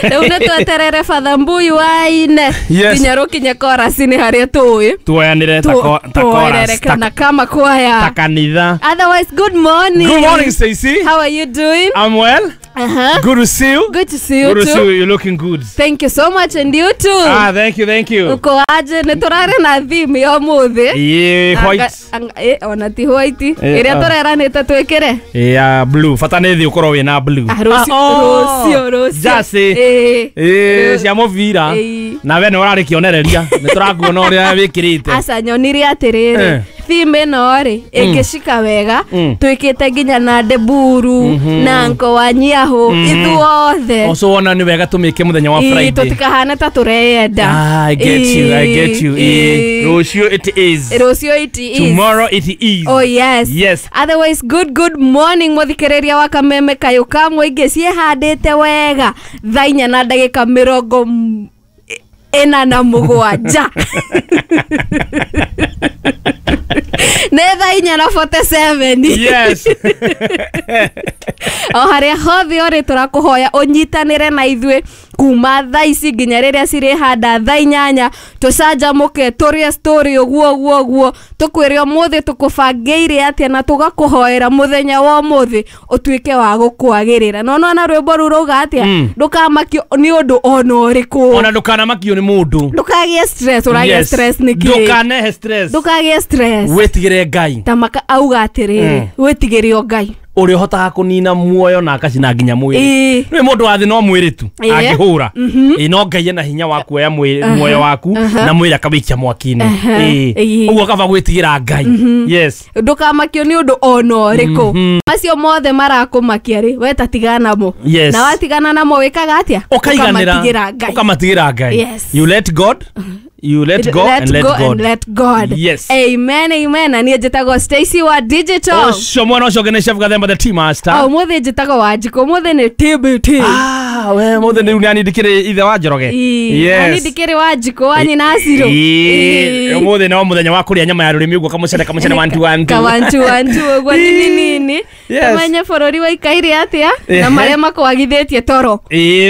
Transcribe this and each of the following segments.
Rĩu nĩ tweterere Father Mbuyu waine nginya rũkinye chorus-inĩ harĩa tũĩ. Tuoyanĩre ta ta Tuoerere chorus, ta kana kama kwaya. ta kanitha. Otherwise, good morning. Good morning, Stacy. How are you doing? I'm well. Good to see you. Good to see you Good to too. see you. You're looking good. Thank you so much, and you too. Ah, thank you, thank you. Uko aje? Nĩ tũrarĩ na theme ya ũmũthĩ. Yeah, white. Ona ti white. Eh, Ĩrĩa ah. tũreranĩte twĩkĩre. Yeah, blue. Bata nĩ thĩ ũkorwo wĩna blue. Ah, rũciũ, Ah, oh. rũciũ, rũciũ. Jersey. Eh. Cia mũbira. Ĩĩ. Na we nĩ ũrarĩ kĩonereria. Nĩ tũrakuona ũrĩa wĩkĩrĩte. Aca nyonire atĩrĩrĩ, theme ĩno rĩ ĩngĩcika wega, twĩkĩte nginya na Ndeburu na Nko wa Nyiahũ ithuothe. Ũcio wona nĩ wega tũmĩke mũthenya wa Ĩĩ, Friday. tũtikahane ta tũreyenda. Ah, I get you, I get you. Ĩĩ. Ĩĩ. Rũciũ it is. Rũciũ it is. Tomorrow it is. Oh yes. Yes. Otherwise, good morning muthikiriria wa Kameme Kayũ ka mũingĩ. Ciĩhandĩte wega thaa 4 na ndagĩka 47. Nĩ thaa 4:47. Yes. O harĩa hothe ũrĩ, tũrakũhoya ũnyitanĩre na ithuĩ kuma thaa ici nginya rĩrĩa cirĩhanda thaa 8, tũcanjamũke, tũrĩe story ũguo ũguo ũguo, tũkwĩre ũmũthĩ tũkũbangĩire atĩa, na tũgakũhoera mũthenya wa ũmũthĩ ũtuĩke wa gũkwagĩrĩra. No nona rwĩmbo rũu rauga atĩa? Ndũkamakio nĩ ũndũ ona ũrĩkũ. Ona ndũkanamakio nĩ mũndũ. Ndũkagĩe stress. Ũragĩa stress nĩkĩ? Ndũkanehe stress. Ndũkagĩe stress. Wĩtigĩre Ngai. Ta maka auga atĩrĩrĩ, wĩtigĩre o Ngai ũrĩa ũhotaga kũnina muoyo na akacina nginya mwĩrĩ. Nĩ mũndũ wa thĩ no mwĩrĩ tu angĩhũra. Ĩĩ, no Ngai ena hinya wa kuoya muoyo waku na mwĩrĩ akawĩikia mwaki-inĩ. Ũguo kaba gwĩtigĩra Ngai, yes. Ndũkamakio nĩ ũndũ ona ũrĩkũ. Macio mothe marakũmakia rĩ, we ta tigana namo. Na watigana namo wĩkaga atĩa? Ũkaiganĩra. Ũkamatigĩra Ngai. Ũkamatigĩra Ngai. You let God, you let go and let go God. And let God. Yes. Amen, amen. Na niĩ njĩtagwo Stacy wa Digital. Ũcio mwana ũcio ũngĩ nĩ Chef Gathemba, the tea master. O ũmũthĩ njĩtagwo Wanjikũ, ũmũthĩ nĩ TBT. Ah, we mũthĩ rĩu nĩ ndikĩrĩ ithe wa Njoroge. Yes. Ndikĩrĩ Wanjikũ wa nyina Acirũ. Ĩĩ, ũmũthĩ no mũthenya wa kũrĩa nyama ya rũrĩmĩ ũguo, kamũcere kamũcere, one two one two. Ka one two one two ũguo, nini nini. Tũmenye bũrũri waikaire atĩa na marĩa makwagithĩtie toro.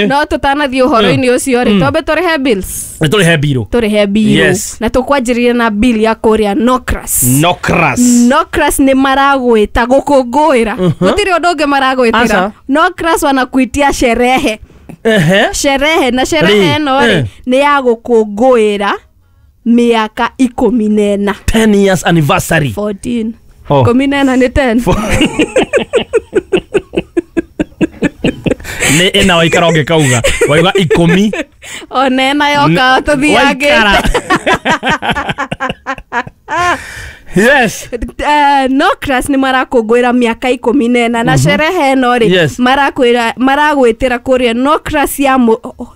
No tũtanathiĩ ũhoro-inĩ ũcio rĩ, twambe tũrĩhe bills. Nĩ tũrĩhe mbirũ. Tũrĩhe bill. Na tũkwanjĩrĩria na bill ya kũrĩa Nocras. Nocras. Nocras nĩ maragwĩta gũkũngũĩra, gũtirĩ ũndũ ũngĩ maragwĩtĩra. Aca. Nocras wanakuitia sherehe. Sherehe na sherehe Rĩ, ĩno rĩ, nĩ ya gũkũngũĩra mĩaka 14. 10 years anniversary. 14. Oh. 14 nĩ 10. Nĩ ĩna waikara ũngĩkauga waiga 10. Ona ĩna yoka tũthiangĩte. Waikara. Yes. Nocras nĩ marakũngũĩra mĩaka 14, na sherehe ĩno rĩ, maragwĩtĩra kũrĩa Nocras ya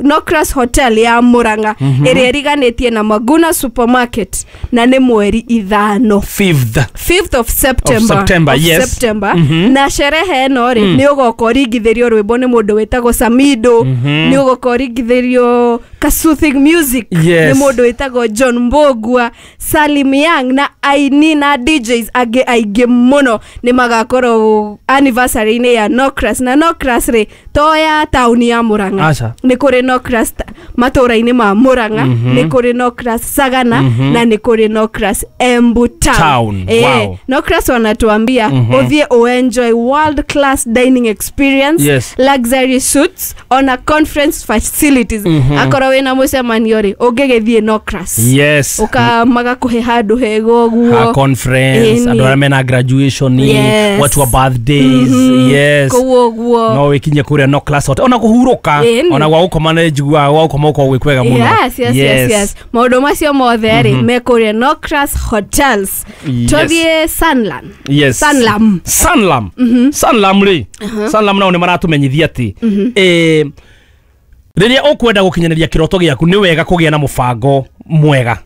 Nocras Hotel ya Murang'a, ĩrĩa ĩriganĩtie na Maguna Supermarket, na nĩ mweri 5. Fifth. 5th of September. Of September, of yes. September. Na sherehe ĩno rĩ, nĩ ũgoka ũringithĩrio rwĩmbo nĩ mũndũ wĩtagwo Samido, nĩ ũgoka ũringithĩrio ka soothing music nĩ mũndũ wĩtagwo John Mbogua, Salim Young, na aini na DJs angĩ aingĩ mũno nĩ magakorwo anniversary-inĩ ya Nocras. Na Nocras rĩ, to ya taũni ya Murang'a. Aca. Nĩ kũrĩ Nocras matũũra-inĩ ma Murang'a, nĩ kũrĩ Nocras Sagana, na nĩ kũrĩ Nocras Embu Town. Town, wow. Nocras wanatuambia ũthiĩ uenjoy world class dining experience, luxury suites, ona conference facilities. Akorwo wĩna mũcemanio rĩ, ũngĩgĩthiĩ Nocras, ũka magakũhe handũ hega Ha ũguo. conference, Ĩni. andũ arĩa mena graduation, watu wa birthdays, yes. Kũu ũguo. No wĩkinye kũrĩa Nocras Hotel ona kũhurũka. Ona gwa gũkoma nĩ njiguaga gwa gũkoma gũkoragwo gwĩ kwega mũno. Yes. Maũndũ macio mothe rĩ, me kũrĩa Nocras Hotels. Tũthiĩ Sanlam. Sanlam. Sanlam. Sanlam rĩ, Sanlam nao nĩ maratũmenyithia atĩ rĩrĩa ũkwenda gũkinyanĩria kĩroto gĩaku, nĩ wega kũgĩa na mũbango mwega.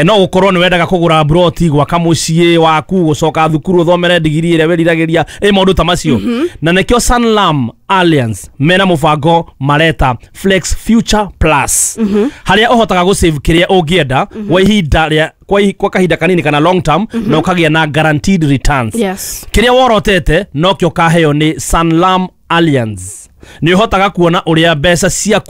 No gũkorwo nĩ wendaga kũgũra broti, gwaka mũciĩ waku, gũcoka thukuru ũthomere ndigiri ĩrĩa wĩriragĩria, ĩ maũndũ ta macio. Na nĩkĩo Sanlam Alliance mena mũbango mareta Flex Future Plus, harĩa ũhotaga gũsave kĩrĩa ũngĩenda kwa ihinda rĩa kwa kahinda kanini kana long term, na ũkagĩa na guaranteed returns. Kĩrĩa worotete nokĩo kaheo nĩ Sanlam Alliance. Nĩ ũhotaga kuona ũrĩa mbeca ciaku